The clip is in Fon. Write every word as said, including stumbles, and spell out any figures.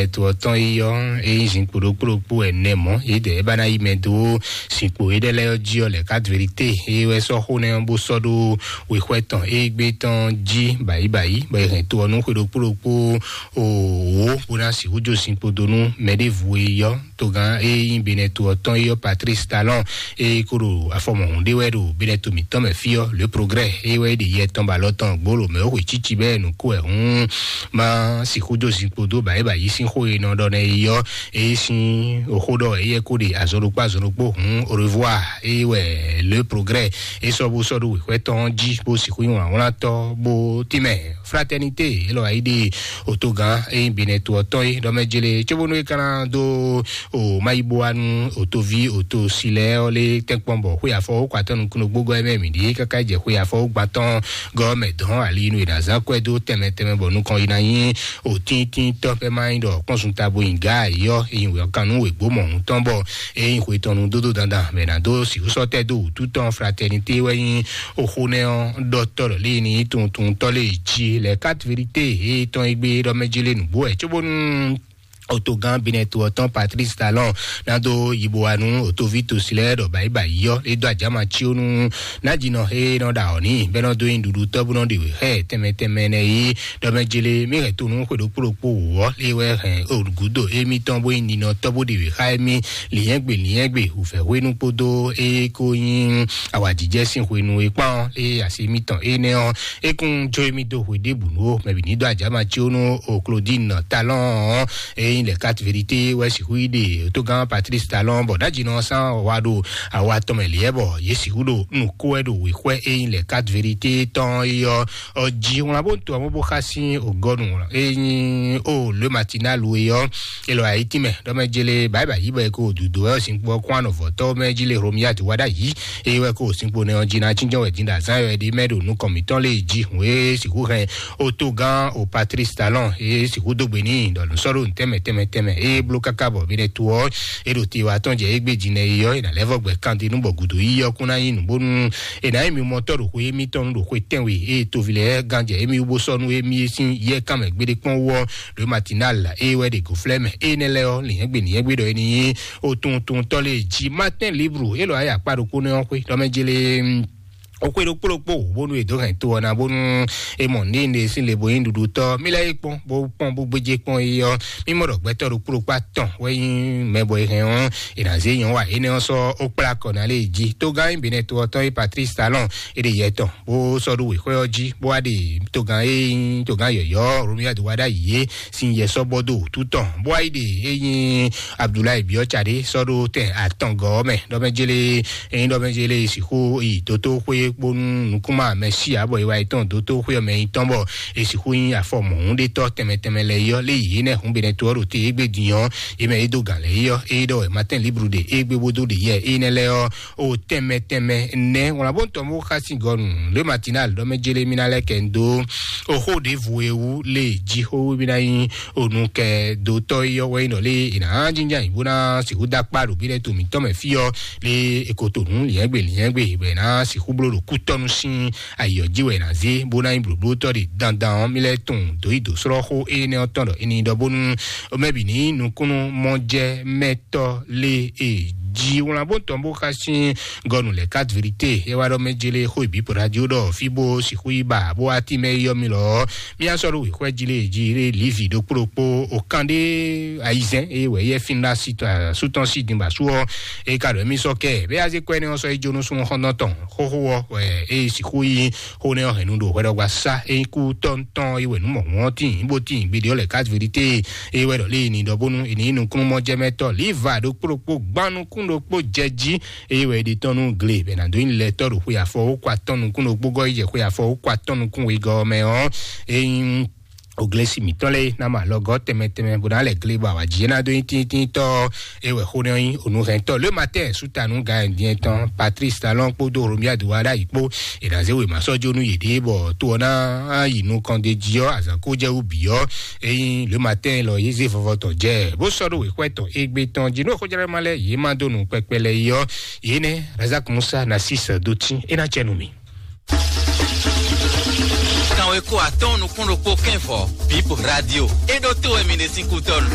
Ètò ɔ́ tɔn yi ɔ́, é nyí zinkpo ɖokpó ɖokpó ɛnɛ mɔ̌, yědɛɛ é ba ná yi mɛ dó zinkpo éɖɛ́ lɛ́ɛ ɔ́ jí ɔ́, lɛ̌ kátvérité é wɛ sɔ́ xó nɛ́ ɔ́ bó sɔ́ ɖó wěxwɛ́ tɔn é gbé tɔn jí bǎyíbǎyí, bɔ è hɛn to ɔ́ nú xwe ɖokpó ɖokpó wǒ bó ná sixú jó zinkpo dó nú mɛ ɖěvo e yi ɔ́. Togán é nyí Benɛto ɔ́ tɔn yi ɔ́, Patrice Talon, é kó ɖo afɔmɔhun ɖé wɛ ɖo Benɛto mǐtɔn mɛ fí ɔ́, Le Progrès é wɛ é ɖe yɛ tɔn ba alɔ tɔn gbolo mɛ ó xwe cíci bɛ́ nǔ kó wɛ hún má sixú dó zinkpo dó bǎ é ba yí sín xó e nɔ ɖɔ nɛ yi ɔ́, é sín oxó ɖɔ éyɛ́ kó ɖe azɔn ɖokpó azɔn ɖokpó hún au revoir é wɛ Le Progrès é sɔ́ bó sɔ́ ɖó wěxwɛ́ tɔn jí bó sixú nyí wlǎnwlátɔ́ bó tínmɛ Fraternité é lɔ wá yi ɖe òtogán é nyí Benɛto ɔ́ tɔn é ɖɔ mɛ jele cóbónú é ka ná dó o mayiboanu otovi oto silɛ ɔ́ lé tɛnkpɔn bɔ xwe afɔ ó kɔ atɔ́ nukúnnú gbógɔ́ ɛ mɛ mǐ ɖíe káká jɛ xwe afɔ ó gbãtɔn gɔ́ mɛ dɔn ali nú è nǎ zán kɔ́ ɛ dó tɛnmɛ tɛnmɛ bɔ nukɔn yi ná nyí òtíntínntɔ́ pɛ́ má nyí ɖɔ kpɔ́nsun tabo nyi gǎ yɔ é nyí wěkanú wěgbó mɔ̌hun tɔn bɔ é nyí xwe tɔn nu dódó dandan mɛ ná dó sixúsɔ́tɛ́ dó wǔtu tɔn Fraternité wɛ nyí oxó nɛ́ ɔ́ ɖɔtɔ́ ɖɔ lé ní tuntun tɔ́ lé jí lɛ quatre vérité é tɔn é gbé ɖɔ mɛ jí lé nǔgbó wɛ cóbónú otogán Benɛto ɔ́ tɔn Patrice Talon ná dó yibo wa nú otoví tosi lɛ́ɛ ɖɔ báyìí báyìí ɔ́ é dó ajama cí ó nú nájínɔ é nɔ ɖa ɔ́ ní bɛ́ nɔ dó nyi ɖuɖu tɔ́ bó nɔ ɖe wě xɛ tɛnmɛ tɛnmɛ nɛ yí ɖɔ mɛ jele mí hɛn to nú xwe ɖokpó ɖokpó wǔ ɔ́ lé wɛ hɛn gǔdo émítɔn bó nyi ninɔ tɔ́ bó ɖe wě xá émí lǐnyɛ́gbe lǐnyɛ́gbe wǔfɛ́hwenu kpódó é kó nyí awǎjijɛ sín hwenu e kpán é asi mitɔn énɛ́ ɔ́ é kún jó émí dó hwe ɖěbǔ nú ó mɛ bǐ ní dó ajǎma cí ó nú o Claudine Talon ɔ́ é nyí lɛ quatre vérité wɛ sixú yi ɖe tógán Patrice Talon bɔ ɖájínɔ sán wa ɖo awa tɔn mɛ liɛ bɔ yě sixú ɖo nǔ kó wɛ ɖo wěxwɛ é nyí lɛ quatre vérité tɔn é ɔ́ ɔ́ jí wlán bó to amú bó xá sín ògɔnu é nyí o Le Matinal é ɔ́ é lɔ ayí tínmɛ ɖɔ mɛ jele báyìí báyìí bɔ é ko dǔdó wɛ ɔ́ sín kpó ɔ́ kún anɔ̌vɔ́tɔ́ mɛ jí lé Romuald Wadagni é wɛ ko sín kpo nɛ ɔ́ jí ná cínjɔ́n wɛ dín ɖo azán wɛ ɖi mɛ ɖo nukɔn mǐtɔn lé jí hǔn é sixú hɛn otogán o Patrice Talon é sixú dó gbe n'i ɖɔ nǔ sɔ́ ɖo nǔ tɛnmɛ tɛnmɛ tɛnmɛ é bló káká bɔ Benɛto ɔ́ é ɖo te wa tɔn jɛ égbé jí nɛ é ɔ́ é ná lɛ́ vɔ gbɛ kande nú bɔ gǔdo yí ɔ́ kún ná nyí nǔ bónú è nǎ nyí mi mɔtɔ́ ɖo xwe émítɔn nu ɖo xwe tɛ́nwe é toví lɛ́ɛ gán jɛ émí wú bó sɔ́ nú émí sín yɛ kánmɛ gbéɖé kpɔ́n wú ɔ́ ɖo Matinal é wɛ ɖe gǒflɛ́ mɛ énɛ́ lɛ́ɛ ɔ́ lǐnyɛ́gbe lǐnyɛ́gbe ɖɔ é ní nyí otuntun tɔ́ lé jí Matin Libre é lɔ ayé akpá ɖokpó nɛ́ ɔ́ xwé ɖɔ mɛ jele o xwé ɖokpó ɖokpó bónú è dǒ hɛn to ɔ́ ná bónú è mɔ ní ɖe sín le bo nyí ɖuɖutɔ́ mí lɛ́ yí kpɔ́n bó kpɔ́n bó gbéjé kpɔ́n é ɔ́ mí mɔ ɖɔ gbɛtɔ́ ɖokpó ɖokpó atɔn wɛ nyí mɛ bɔ è hɛn ɔ́ è nǎ zé nyɔ̌ wa énɛ́ ɔ́ sɔ́ ó kplá kɔ ná lé jí tógán nyí Benɛto ɔ́ tɔn é Patrice Talon é ɖe yɛ tɔn bó sɔ́ ɖó wěxwɛ́ ɔ́ jí bó wá ɖe togán e nyí togán yɔ̌yɔ́ Romuald Wadagni é sín yɛ sɔ́ bɔ dó wútu tɔn bó wá yi ɖe é nyí Abdoulaye Biɔ́ Tsadé sɔ́ ɖó tɛn atɔngɔ́ ɔ́ mɛ ɖɔ mɛ jélé é nyí ɖɔ mɛ jélé sixú yi dótóxwé kpónú nukúnmá mɛ sí ǎ bɔ é wá yi tɔn dótóxwé ɔ́ mɛ nyí tɔn bɔ é sixú nyí afɔ mɔ̌húnɖétɔ́ tɛnmɛ tɛnmɛ lɛ́ɛ yi ɔ́ lé yě nɛ́ hǔn Benɛto ɔ́ ɖo te égbé din ɔ́ é mɛ é dó gǎn lɛ́ɛ yi ɔ́ é ɖɔ wɛ Matin Libre ɖe égbé bó dó ɖe yɛ énɛ́ lɛ́ɛ ɔ́ o tɛnmɛ tɛnmɛ nɛ́ wlán bó tɔn bó xá sín gɔnu Le Matinal ɖɔ mɛ jélé mí ná lɛ́ kɛ ń dó o xó ɖěvo e wú lé jí xó wú mí ná nyí o nu kɛ dó tɔ́ yi ɔ́ wɛ nyí ɖɔ lé è nǎ jínjɔ́n ayǐ bó ná sixú dó akpá ɖo bí lɛ́ɛ to mǐtɔn mɛ fí ɔ́ lé è ko to nǔ lǐnyɛ́gbe lǐnyɛ́gbe bɔ è nǎ sixú bló ɖo kú tɔ́ nú sín ayǐ ɔ́ jí wɛ è nǎ zé bó ná nyí blǒblótɔ́ ɖe dandan ɔ́ mí lɛ́ tunwun dǒ yi dǒ slɔ́ xó énɛ́ ɔ́ tɔn ɖɔ è nǐ ɖɔ bónú mɛ bǐ ní nukúnnú mɔjɛmɛtɔ́ lé e jí wlán bó tɔn bó xá sín gɔnu lɛ quatre vérité é wá ɖɔ mɛ jélé xó ìbí pɔɖa jí ó ɖɔ fí bó sixú yi ba bó wá tí mɛ yɔ mi lɔ mía sɔ́ ɖo wěxwɛ jí lé jí lé lívi ɖokpó ɖokpó o kan ɖé ayizɛn é wɛ yɛ fin ɖa si tɔn asú tɔn si din ba sú ɔ é ka ɖɔ émi sɔ kɛ bɛ azé kɔ ɛnɛ ɔsɔ é jónú sún xɔndɔn tɔn xóxó ɔ wɛ é sixú yi xó nɛ ɔ hɛn nu ɖo hwɛ ɖɔ gba sa é kú tɔntɔn é wɛ nú mɔ wọn tín bó tín gbédè ɔ lɛ quatre vérité é wɛ ɖɔ lé ni ɖɔ bónú é ní nukúnnú mɔ jɛmɛtɔ líva ɖokpó ɖokpó gbanu kún ɖokpó jɛ jí eye wɛ ɖi tɔn nú gle bɛ na dó nyi lɛ tɔ ɖo xwe afɔ wó kɔ atɔn nukún ɖokpó gɔ yi jɛ xwe afɔ wó kɔ atɔn nukún wegɔ mɛ ɔ eyin oglesi mǐtɔn lɛ ná ma lɔgɔ tɛmɛ tɛmɛ bó ná lɛ gle bɔ awǎ jí ná dó nyi tíntín tɔ eye wɛ xó nɛ nyi onuhɛntɔ le matin sutanu ga ɛndiɛn tɔn Patrice Talon kpódó Romuald Wadagni kpó è nǎ zé wěma sɔ́ jó nú yěɖée bɔ to ɔ́ ná yi nukɔn d'é jí ɔ́ azǎn kó jɛ wú bǐ ɔ́ eyin le matin lɔ yě zé vɔvɔ tɔn jɛ bó sɔ́ ɖó wěxwɛ tɔn égbé tɔn jí nú xójlɛ́ ma lɛ́ yě má dó nǔ kpɛkpɛ lɛ́ɛ yi ɔ́ yě nɛ́ Razak Musa Narcisse dó tín é ná cɛ nú mì. E ko atɔ́ɔ́n nukún ɖokpó kɛ́nvɔ, Bip Radio. É ɖó to wɛ mi ɖe sín kútɔ́nu.